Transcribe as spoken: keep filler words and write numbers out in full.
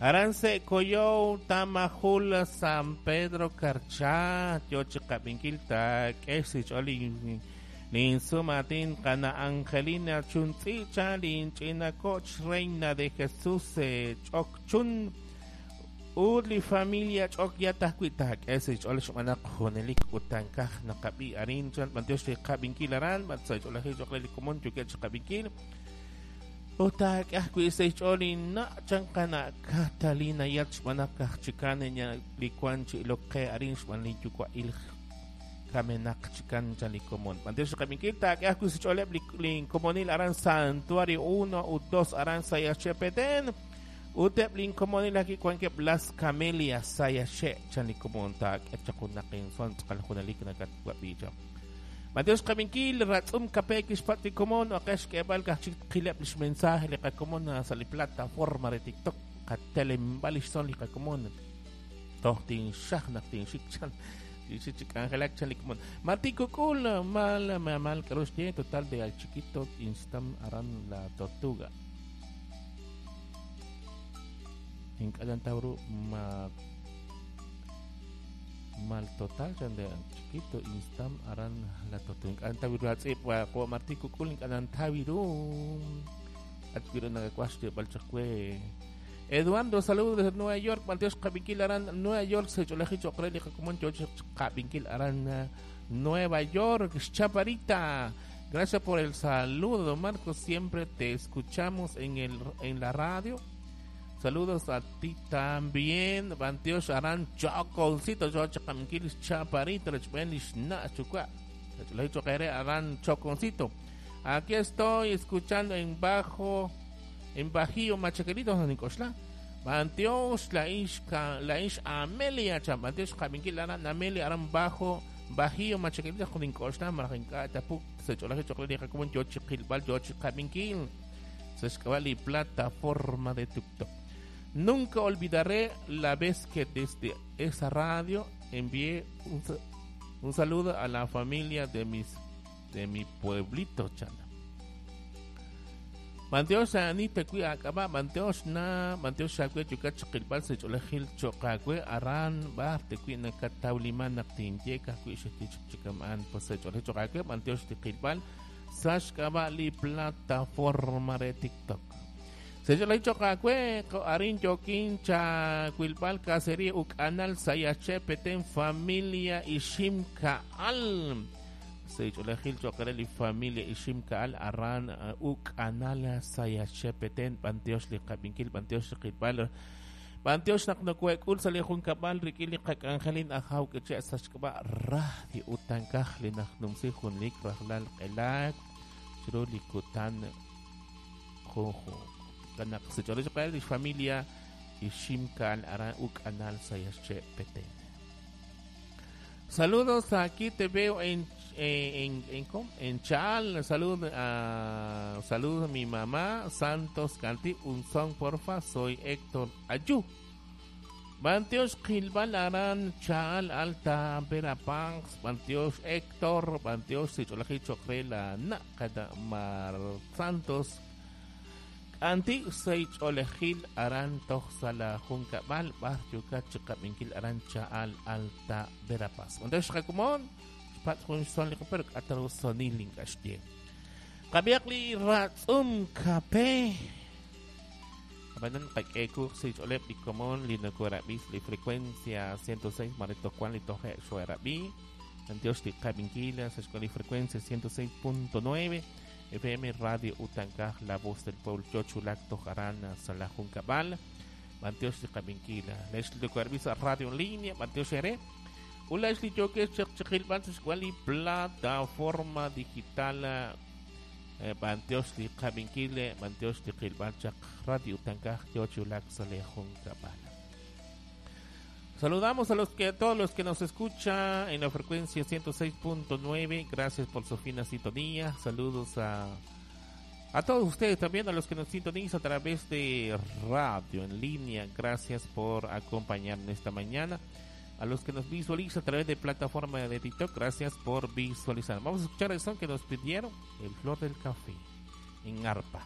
Aran se Coyo, Tamajul, San Pedro Carchá, yo chiqab'inkil taak'e xch'ool linsumatin qana Angelina Chuntz'icha linch'ina koch Reina de Jesús ch'okchun ut li familia ch'ok yatah wi taak'e xch'ool xb'aan naq junelik utankaj naqab'i arin chan b'antiox li qab'inkil aran b'at sa ch'oolajil ch'oqle li komon yokeb' chiqab'inkil ut taak'e ajwi' sa xch'ool inna' chan qana Catalina yat xb'aan naq aj chikan li wan chi ilok qe arin xb'aan li yuwa'il kamenaq chikan chan li komon b'antiox li qab'inkil taak'e ajwi' sa xch'ooleb' li komonil aran Santuario uno ut dos aran Sayaxché Petén ut eb' lin komonil aki wankeb' Las Camelias Sayaxché chan li komon taak'e chaq junaq inson tz'aqal junelik nakatwab'i chaq b'antiox qab'inkil ratz'um kape kixpat li komon oqex k'eeb'al kaj chik qileb' lix mensaje li qakomon sa' li plataforma re TikTok qatelemb'al lix son li qakomon toj tinxaj naq tinxik chan tinxik chi k'anjelak chan li komon Martín Kukul mal mal k'aru xye total de al chiquito instam aran la tortuga ink'alan tawru ma mal total chan de chiquito instam aran la tortuga ink'alan tawiru atz'ib' wa qo Martín Kukul ink'alan tawiru atwiru nakakuax tib'al chaq we Eduardo, saludos desde Nueva York. B'antiox qab'inkil aran Nueva York sa ch'oolajil cho'q re li qakomon yo qab'inkil aran Nueva York. Chaparita, gracias por el saludo, Marcos. Siempre te escuchamos en el en la radio. Saludos a ti también. B'antiox aran Choconcito, yo qab'inkil Chaparita, rechb'en lixna' xyuwa'. Sa ch'oolajil cho'q re aran Choconcito. Aquí estoy escuchando en bajo en Bajío Machaquerito Nicoxla. B'antiox la ix la ix Amelia chan b'antiox qab'inkil aran Amelia aran bajo Bajío Machaquerito Nicoxla marajinka tapuk sa ch'oolajil cho'q re li qakomon yo chiqilb'al yo chiqab'inkil sa xk'ab'a' li plataforma de TikTok. Nunca olvidaré la vez que desde esa radio envié un, un saludo a la familia de mis de mi pueblito chan. B'antiox ani te kui ak'ab'a b'antiox na b'antiox xakwe yukat chiqilb'al sa ch'oolajil cho'qawe aran b'ar te kui nakatawliman naq tinye kajwi' xetichik chikam'an pues sa ch'oolajil cho'qawe b'antiox tiqilb'al sa xk'ab'a' li plataforma re TikTok. Sa ch'oolajil cho'qawe arin yokin chawilb'al casería uk'anal Sayaxché Petén familia Ixim Ka'al. Sa ch'oolajil cho'q re li familia Ixim Ka'al aran uk'anal Sayaxché Petén b'antiox li qab'inkil b'antiox li qilb'al b'antiox naq nokoek'ul sa li junkab'al rik'in li qak'anjelin ajaw k'iche' sa xk'ab'a' radio utankaj li najnumsi junlik rajlal q'elaak chiru li kutan junjunq kanaq sa ch'oolajil cho'q re li familia Ixim Ka'al aran uk'anal Sayaxché Petén. Saludos, aquí te veo en en en en, en Chal. Saludos a saludos a mi mamá Santos Canti, un son porfa, soy Héctor Ayú. B'antiox qilb'al aran Chal Alta Verapaz, b'antiox Héctor, b'antiox sa ch'oolajil cho'q re la na kada Mar Santos Anti sa ch'oolajil aran toj sa la junkab'al b'ar yukat chiqab'inkil aran Chal Alta Verapaz. B'antiox qakomon xpat jun son li pero k'ataru sonil ink'axye. Qab'iaq li ratz'um kape. Abanan qak'eku sa ch'ooleb li komon li nakorab'is li frecuencia ciento seis marito Juan li toje xuerab'i. B'antiox li qab'inkil sa xk'ol li frecuencia ciento seis punto nueve F M Radio Utankaj, la voz del pueblo Chochulac Tojarán sa la junkab'al. B'antiox li qab'inkil lex li nakorab'is radio en línea b'antiox ere. Ulax li yoke chiqilb'al sa xk'ol li plataforma digital b'antiox li qab'inkil b'antiox li qilb'al chaq Radio Utankaj Chochulac sa la junkab'al. Saludamos a los que a todos los que nos escuchan en la frecuencia ciento seis punto nueve. Gracias por su fina sintonía. Saludos a, a todos ustedes también, a los que nos sintonizan a través de radio en línea. Gracias por acompañarnos esta mañana. A los que nos visualizan a través de plataforma de TikTok, gracias por visualizar. Vamos a escuchar el son que nos pidieron, el Flor del Café, en arpa.